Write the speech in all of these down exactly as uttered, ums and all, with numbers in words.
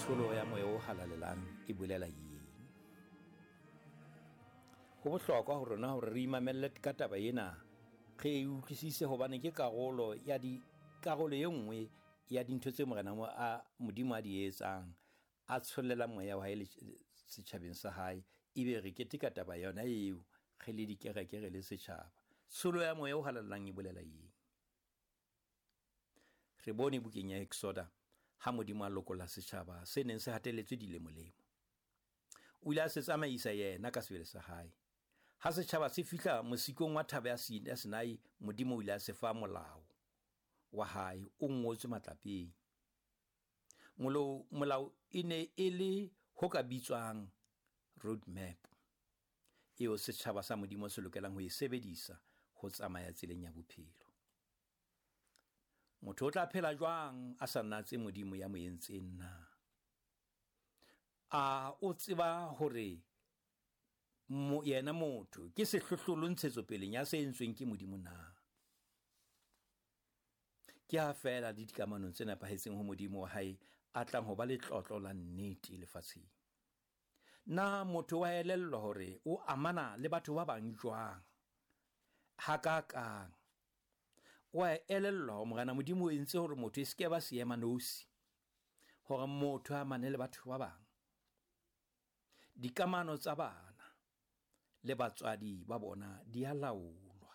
Tsholo ya moya o halalelang e bolela eng? Ho bohlokwa ho rona hore re imamelle ka taba ena, re e utlwisise hobane ke karolo ya di karolo e nngwe ya dintho tse Morena a Modimo a di etsang, a tshollela moya wa hae setjhabeng sa hae, ebe re keteka taba yona eo re le dikereke re le setjhaba. Tsholo ya moya o halalelang e bolela eng? Re bone bukeng ya Exoda ha Modimo a lokolla setjhaba se neng se hatelletswe dilemolemo. O ile a se tsamaisa yena ka sebele sa hae. Ha setjhaba se fihla mosikong wa thaba ya Sinai, Modimo o ile a se fa molao wa hae o ngotswe matlapeng. Molao e ne e le ho ka bitswang road map eo setjhaba sa Modimo se lokelang ho e sebedisa ho tsamaya tseleng ya bophelo. Motho o tla phela jwang a sa natse Modimo ya mo entseng na? A o tseba hore mo yena motho ke sehlohlolo ntshetsopeleng ya se entsweng ke Modimo na? Ke ha feela le dikamanong tse nepahetseng ho Modimo wa hae a tlang ho ba letlotlo la nnete lefatsheng. Na motho wa elellwa hore o amana le batho ba bang jwang? Hakakang? Wa elellwa hore Morena Modimo o entse hore motho e se ke ba seema nosi, hore motho a amane le batho ba bang. Dikamano tsa bana le batswadi ba bona di a laolwa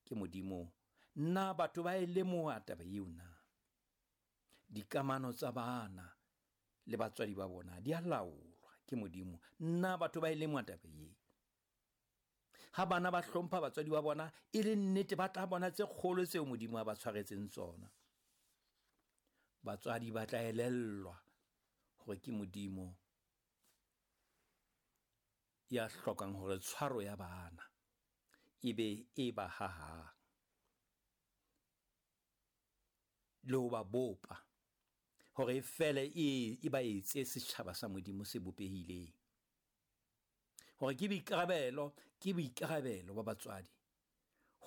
ke Modimo. Na batho ba e lemoha taba eo na? Dikamano tsa bana le batswadi ba bona di a laolwa ke Modimo. Na batho ba e lemoha taba eo? Ha bana ba hlompha batswadi ba bona, e le nnete ba tla bona tse kgolo tseo Modimo a ba tshwaretseng tsona. Batswadi ba tla elellwa hore ke Modimo ya hlokang hore tshwaro ya bana e be e ba hahang le ho ba bopa hore e fele e e ba etse setjhaba sa Modimo se bopehileng. Hore ke boikarabelo, ke boikarabelo ba batswadi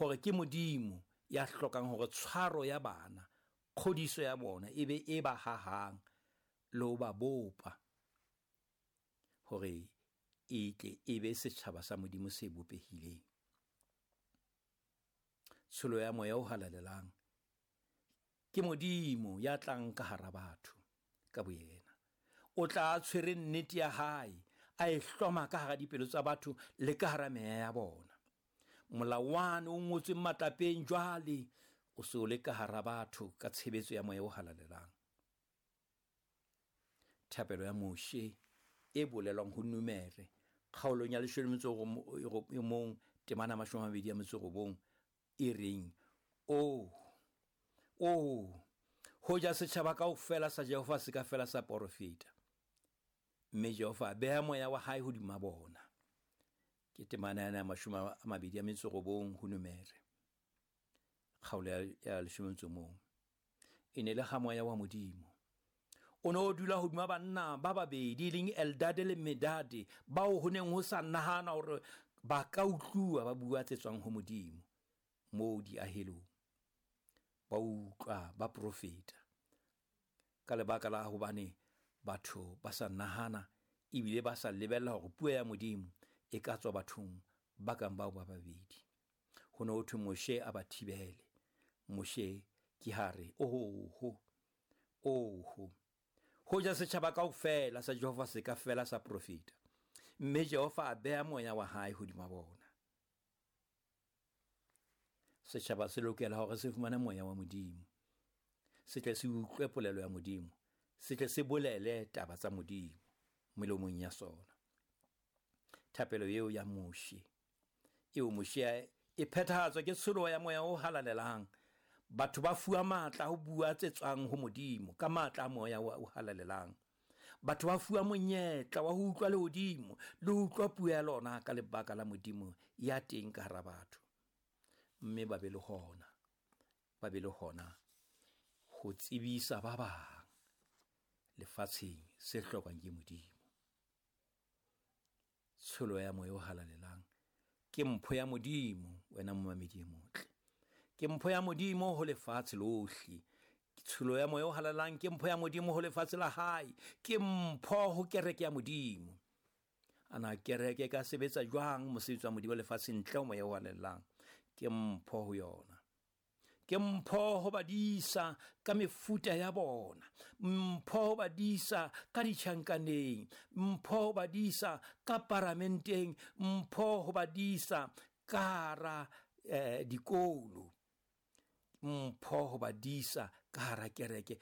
hore ke Modimo ya hlokang hore tshwaro ya bana, kgodiso ya bona e be e ba hahang le ho ba bopa hore e tle e be setjhaba sa Modimo se bopehileng. Tsholo ya moya o halalelang ke Modimo ya tlang ka hara batho ka boyena. O tla tshwere nnete ya hae, a e hloma ka hara dipelo tsa batho le ka hara meya ya bona. Molawana o ngotsweng matlapeng jwale o se o le ka hara batho ka tshebetso ya moya o halalelang. Thapelo ya Moshe e bolelwang ho Numere kgaolong ya leshome le metso e mong temana mashome a mabedi a metso e robong e reng, o o hoja setjhaba kaofela sa Jehova se ka fela sa porofeta, mme Jehova a beha moya wa hae hodima bona. Ke temana ya mashome a mabedi a metso e robong ho Numere kgaolo ya leshome le metso mong. E ne le ha moya wa Modimo o ne o dula hodima banna ba babedi e leng Eldade le Medade, bao ho neng ho sa nahana hore ba ka utluwa ba bua tse tswang ho Modimo moo diahelong. Ba utlwa ba profeta ka lebaka la hobane batho ba sa nahana ebile ba sa lebella hore puo ya Modimo e ka tswa bathong ba kang bao ba babedi. Ho ne ho thwe Moshe a ba thibele. Moshe ke ha re, oho, oho, hoja setjhaba kaofela sa Jehova se ka fela sa profeta, mme Jehova a beha moya wa hae hodima bona. Setjhaba se lokela hore se fumane moya wa Modimo, se tle se utlwe polelo ya Modimo, se tle se bolele taba tsa Modimo melomong ya sona. Thapelo eo ya Moshe, eo Moshe e phethahatswa ke tsholo ya moya o halalelang. Batho ba fuwa matla ho bua tse tswang ho Modimo ka matla a moya o halalelang. Batho ba fuwa monyetla wa ho utlwa lehodimo le ho utlwa puo ya lona ka lebaka la Modimo ya teng ka hara batho. Mme ba be le hona, ba be le hona ho tsebisa ba bang lefatsheng se hlokwang ke Modimo. Tsholo ya moya o halalelang ke mpho ya Modimo, wena momamedi e motle. Ke mpho ya Modimo ho lefatshe lohle. Tsholo ya Moya o Halalelang ke mpho ya Modimo ho lefatshe la hae, ke mpho ho kereke ya Modimo. Ana kereke e ka sebetsa jwang mosebetsi wa Modimo lefatsheng ntle ho Moya o Halalelang? Ke mpho ho yona. Ke mpho ho badisa ka mefuta ya bona, mpho ho badisa ka ditjhankaneng, mpho ho badisa ka paramenteng, mpho ho badisa ka hara eh, dikolo, mpho ho badisa ka hara kereke.